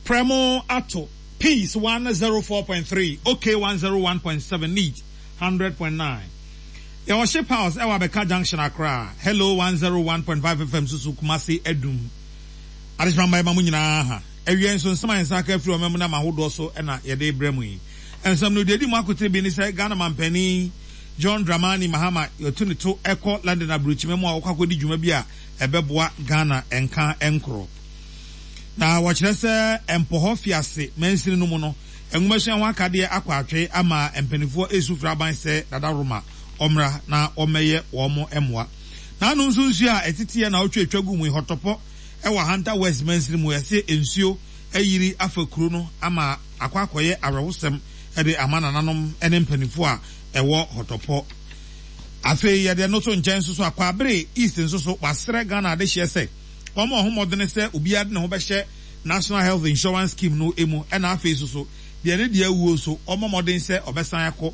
Prɛmo ato Peace 104.3, OK 101.7, Neat 100.9. Yɛwɔ Ship House ɛwɔ Abɛka Junction, Accra. Hello 101.5 FM nso so Kumasi Adum. Adehyema mma yɛma mo nyinaa ha. Awia nso nsɛm a yɛn nsa aka afiri ɔman mu nam ahodoɔ so na yɛde rebrɛ mo yi. Nsɛm no deɛ ɛdi mu akotere bi ne sɛ Ghana manpanin John Dramani Mahama yɛatu ne to kɔ London aburokyima mu a ɔkɔ akɔdi dwuma bi a ɛbɛboa Ghana nka nkorɔ. Na wɔkyerɛ sɛ Mpɔhɔ Fiase mansini no mu no, nwomasua ho akadeɛ akɔ atwe ama mpanimfoɔ resu frɛ aban sɛ Dada Roma ɔmmra na ɔmmɛyɛ wɔn mmoa. N'ano nso nsuo a ɛteteɛ na ɔtwe twa gu mu yi, Hɔtɔpɔ wɔ Ahanta West mansini mu, yɛse nsuo ayiri afa kuro no ama akɔ akɔyɛ awerɛhosɛm de ama nananom ne mpanimfoɔ a ɛwɔ Hɔtɔpɔ. Afei yɛde ɛno to nkyɛn nso so a, Kwaabere East nso so wɔasrɛ Ghana adehyeɛ sɛ wɔmmɔ wɔn ho mmɔdene sɛ obiara de ne ho bɛhyɛ National Health Insurance Scheme no mu ɛna afei nso so deɛ ne deɛ awuo nso ɔmmɔ mmɔden sɛ ɔbɛsan akɔ.